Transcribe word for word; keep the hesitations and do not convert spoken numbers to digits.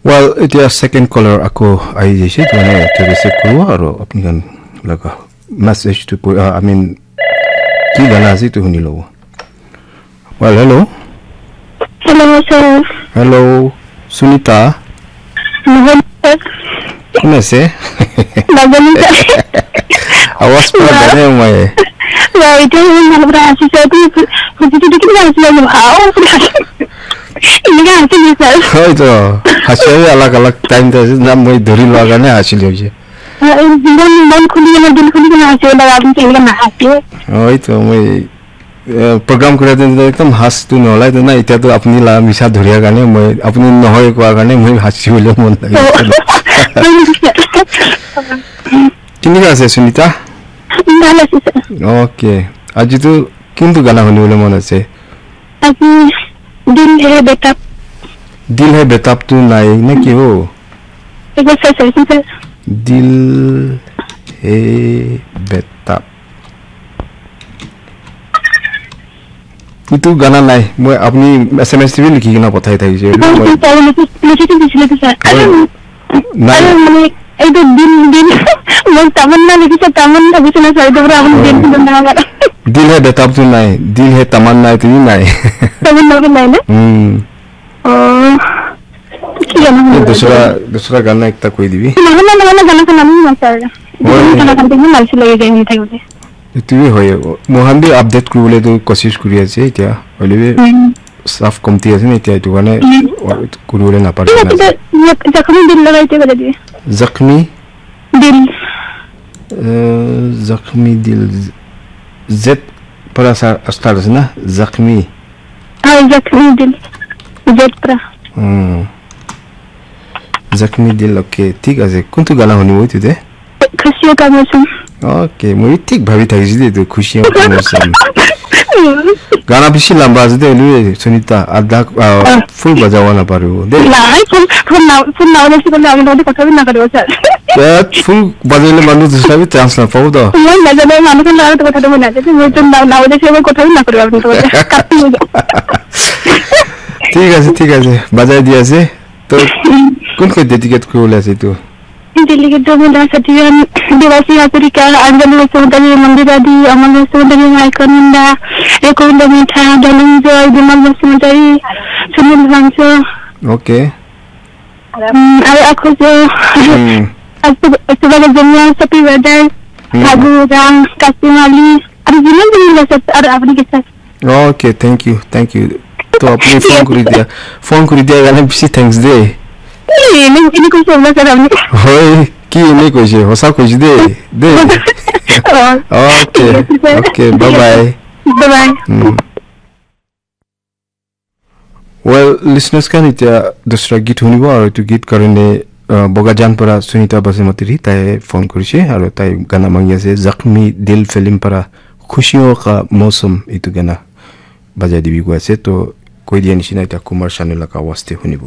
Well, এতিয়া second caller আকৌ আহি যাইছে, তো মানে এতিয়া receive কৰিব আৰু আপুনি কন লগা message টো পঢ়ি, আহ, I mean, কি গানা আছে এইটো শুনি ল'ব। Well, hello। Hello, sir। Hello, Sunita. নহয়, sir। কোন আছে? নাজানো, sir। আৱাজ পুৰা জানে মই। Wow, এতিয়া ইমান ভাল পৰা আহিছে, sir। তুমি সুধিটো কিমান আছিলে? Wow। এনেকা আছে নেকি, sir? হয় তো, হাঁচিও আলাগ আলাগ টাইম আছে না, মই ধৰি লোৱাৰ কাৰণে হাঁচিলো হৈছে। হয়, মন, মন খুলি কেনে, দিল খুলি কেনে হাঁচিব লাগে, আপুনি তো এনেকা নাহাঁচিব। হয় তো, মই, এ, প্ৰগ্ৰাম কৰি থাকোঁতে একদম হাঁচটো নোলাই তো না, এতিয়াতো আপুনি লা মিছা ধৰিয়াৰ কাৰণে মই, আপুনি নহয় কোৱাৰ কাৰণে মই হাঁচিবলৈ মন লাগিছে। হয় নেকি, sir? কেনেকুৱা আছে সুনিতা? ভাল আছে, sir। অ'কে, আজিতো কোনটো গানা শুনিবলৈ মন আছে? আজি দিল হে বেতাব। দিল হে বেতাবটো নাই নে কি হ? এইবাৰ চাই চাইছো, sir। দিল হে বেতাব। এইটো গানা নাই। মই, আপুনি এছ এম এছ টিভি লিখি কিনে পঠাই থাকিছে। এইটো মই লিখি, লিখিটো দিছিলে তো, sir। হয়। আৰু নাই। আৰু মানে এইটো দিল, দিল, মই তামান্না লিখিছে, তামান্না ভাবিছে না, sir, এইটো পৰা আপুনি দিল হয়। দিল বনাব পাৰে। দিল হে বেতাবটো নাই, দিল হে তামান্না এইটো নাই। তামান্না নাই না? উম। অ, কি গানা এই শুনিব? দুচৰা, দুচৰা গানা একটা কৈ দিবি। নহয়, নহয়, নহয়, গানা শুনাব মন আছে আৰু। হয়। গানা শুনিব মন আছে, লাগি যায় শুনি থাকোঁতে। এইটোৱে হয়। মই হান বি আপডেট কৰিবলৈতো কচিছ কৰি আছে এতিয়া। হ'লে বি উম। ষ্টাফ কমটি আছে ন এতিয়া, এইটো কাৰণে উম। কৰিবলৈ নাপাৰে ঠিক না। আছে, দে, জখ-, জখমী দিল লগাই দিব লাগে। জখমী? দিল। এ, জখমী দিল। জেড পৰা ষ্টাৰ্ট আছে না? জখমী। হয়, জখমী দিল। জেড পৰা। উম। জখমী দিল, অ'কে, ঠিক আছে। কোনটো গানা শুনিব এইটোতে? খুচিয়ো কা মৌচম। অ'কে, মই ঠিক ভাবি থাকিছিলো এইটো, খুচিয়ো কা মৌচম। গানা বেছি লাম্বা আছে দেই, এনে সুনিতা, আধা, আহ, অ। ফুল বজাব নাপাৰিব দেই। নাই, ফুল, ফুল না-, ফুল নাবাজাইছে কাৰণে আমি লগতে কথা বি নকৰিব, ছাৰ। ইয়াত ফুল বজাইলে মানুহ দুচৰা বি চান্স নাপাব তো। মই নাজানো, মানুহৰ লগত কথা ক'ব নাজানো। মই তো না-, নাবাজাইছে, মই কথা বি নকৰিব আপোনাৰ লগত। কাটি হৈ যাব। ঠিক আছে, ঠিক আছে, বজাই দি আছে। তো কোনকে ডেডিকেট কৰিবলৈ আছে এইটো? ডেডিকেট তো মোৰ দাস সতীৰাম, দেৱাশী হাজৰিকা, আঞ্জলি বসুমতাৰী, মন্দিৰা দি, অমল বসুমতাৰী, মাইকন মুণ্ডা, ৰেকুণ্ড মিঠা, ধনঞ্জয়, বিমল বসুমতাৰী, সুনীল ভঞ্চ। অ'কে। উম, আৰু আকৌ যে, um. Subhash Jamia, Chopi brother, um. Fagu Ram, Kasim Ali, আৰু যিমান যিমান আছে, আৰু আপুনি কি চাই? Okay, thank you, thank you. তো আপুনি ফোন কৰি দিয়া, ফোন কৰি দিয়া কাৰণে বেছি থেংকছ দেই। এই, এনে, এনে কৈছে, আপোনাৰ ছাৰ, আপুনি। হয়, কি এনে কৈছে? সঁচা কৈছে দেই, দেই। অ, অ'কে, ঠিক আছে, ছাৰ। অ'কে, ঠিক বাই আছে। Bye. Bye bye. Um. Well, listeners khan, এতিয়া দুচৰা গীত শুনিব আৰু এইটো গীত কাৰণে, আহ, বগাজান পৰা সুনিতা বাসুমতাৰী তাই ফোন কৰিছে আৰু তাই গানা মাগি আছে, জখমী দিল ফিল্ম পৰা খুচিয়ো কা মৌচম এইটো গানা বাজাই দিবি কৈ আছে। তো কৈ দিয়া নিচিনা এতিয়া কুমাৰ চানুৰ লগা আৱাজতে শুনিব।